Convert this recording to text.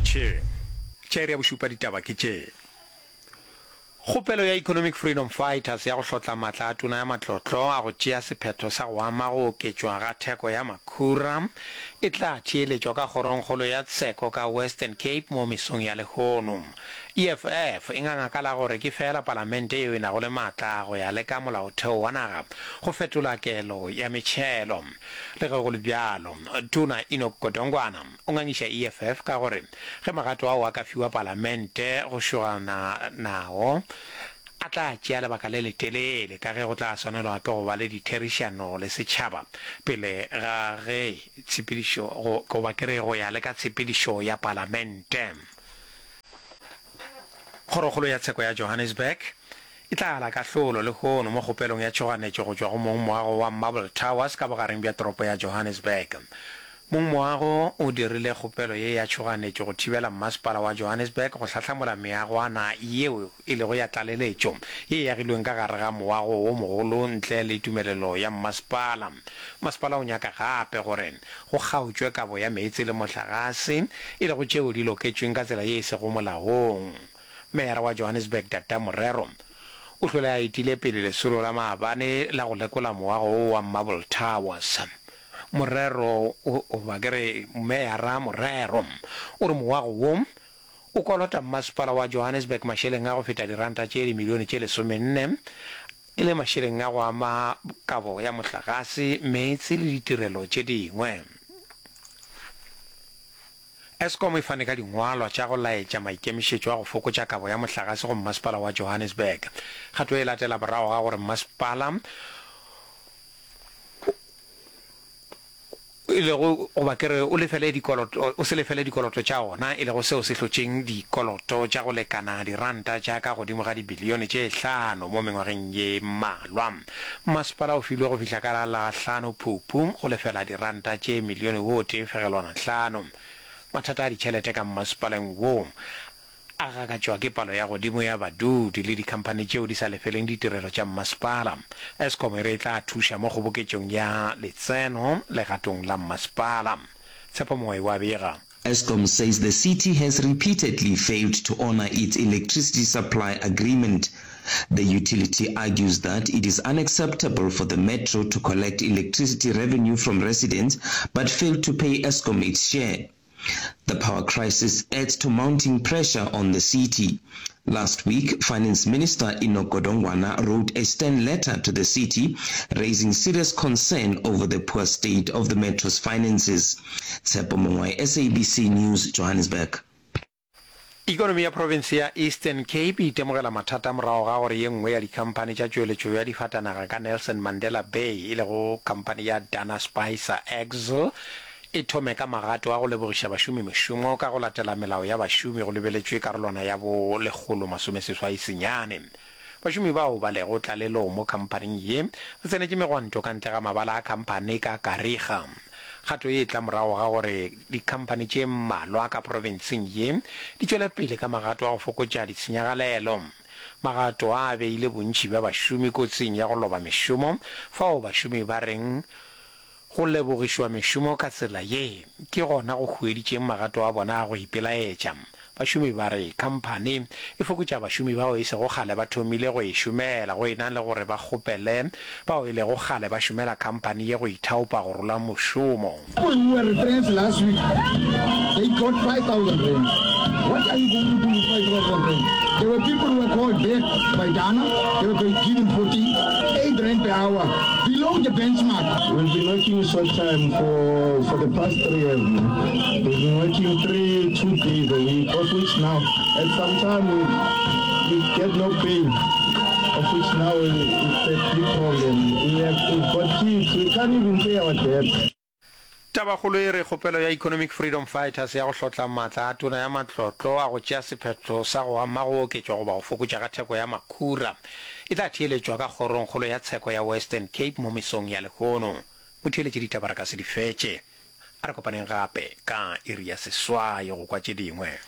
Lotšhe. Tša iri ya bošupa ditaba ke tše. Kgopelo ya Economic Freedom Fighters ya go hlotla matla a Tona ya Matlotlo a go tšea sephetho sa go ama go oketšwa ga theko ya makhura e tla theeletšwa ka Kgorongkgolo ya Tsheko ka Western Cape mo mesong ya lehono. EFF e nganga ka la gore ke feela Palamente yeo e nago le matla go ya le ka molaotheo wa naga go fetola kelo ya metšhelo. Le ge go le bjalo, Tona Enoch Godongwana o ngangiša EFF ka gore ge magato ao a ka fiwa Palamente go šogana nao, a tla tšea lebaka le letelele ka ge go tla swanelwa ke go ba le ditherišano le setšhaba pele ga ge tshepedišo goba ke re go ya le ka tshepedišo ya Palamente. Kgorokgolo ya Tsheko ya Johannesburg e tla ala kahlolo lehono mo kgopelong ya tšhoganetšo go tšwa go mongmoago wa Marble Towers ka bogareng bja toropo ya Johannesburg. Mongmoago o dirile kgopelo ye ya tšhoganetšo go thibela Mmasepala wa Johannesburg go hlahlamola meagwana yeo e lego ya tlaleletšo ye e agilweng ka gare ga moago wo mogolo ntle le tumelelo ya mmasepala. Masepala o nyaka gape gore go kgaotšwe kabo ya meetse le mohlagase, e lego tšeo di loketšweng ka tsela ye e sego molaong. Meyara wa Johannesburg Dada Morero o hlwele a etile pele lesolo la maabane la go lekola moago wo wa Marble Towers. Morero o, goba ke re Meyara Morero, o re moago wo o kolota Mmasepala wa Johannesburg mašeleng a go feta diranta tše dimilione tše lesomenne e le mašeleng a go ama kabo ya mohlagase, meetse le ditirelo tše dingwe. Eskom e fane ka dingwalwa tša go laetša maikemišetšo a go fokotša kabo ya mohlagase go Mmasepala wa Johannesburg. Kgato ye e latela morago ga gore mmasepala e lego goba ke re o lefele dikoloto, o se lefele dikoloto tša ona, e lego seo se hlotšeng dikoloto tša go lekana diranta tša ka godimo ga dibilione tše hlano mo mengwageng ye mmalwa. Mmasepala o filwe go fihla ka la la hlano Phupu go lefela diranta tše milione o tee fegelwana hlano. Mathata a ditšhelete ka mmasepaleng wo a gakatšwa ke palo ya godimo ya badudi le dikhamphani tšeo di sa lefeleng ditirelo tša mmasepala. Eskom e re e tla thuša mo kgoboketšong ya letseno legatong la mmasepala. Tshepo Mooi wa bega. Eskom says the city has repeatedly failed to honor its electricity supply agreement. The utility argues that it is unacceptable for the metro to collect electricity revenue from residents but fail to pay Eskom its share. The power crisis adds to mounting pressure on the city. Last week, Finance Minister Enoch Godongwana wrote a stern letter to the city, raising serious concern over the poor state of the metro's finances. Tshepo Mongwae, SABC News, Johannesburg. Ikonomi ya profense ya Eastern Cape e itemogela mathata morago ga gore ye nngwe ya dikhamphani tša tšweletšo ya difatanaga ka Nelson Mandela Bay, e lego khamphani ya Dana Spicer Axle, e thome ka magato a go lebogiša bašomi mešomo ka go latela melao ya bašomi go lebeletšwe karolwana ya bo 189. Bašomi bao ba lego tlalelong mo khamphaning ye ba tsenetše megwanto ka ntle ga mabala a khamphani ka Kariega. Kgato ye e tla morago ga gore dikhamphani tše mmalwa ka profenseng ye di tšwele pele ka magato a go fokotša ditshenyagalelo. Magato a a beile bontši bja bašomi kotsing ya go loba mešomo fao bašomi ba reng Go lebogišwa mešomo ka tsela ye ke gona go hueditšeng magato a bona a go ipelaetša. Bašomi ba re khamphani e fokotša bašomi bao e sego kgale ba thomile go e šomela go e na le gore ba kgopele bao e lego kgale ba šomela khamphani ye go ithaopa go rola mošomo. People who were retrenched last week, they got 5,000 rands. What are you going to do with 5,000 rands? There were people who were called back by Dana, they were given 48 rand per hour. Below the benchmark. We've been working short time for, for the past three years now. We've been working three, two days a week, of which now, at some time we, we get no pay, of which now it's a big problem. We have, we've got kids, we can't even pay our debts. Tabakgolo e re kgopelo ya Economic Freedom Fighters ya go hlotla maatla a Tona ya Matlotlo a go tšea sephetho sa go ama go oketšwa goba go fokotša ga theko ya makhura e tla theeletšwa ka Kgorongkgolo ya Tsheko ya Western Cape mo mesong ya lehono. Motheeletši ditaba re ka se di fetše. A re kopaneng gape ka iri ya seswai go kwa tše dingwe.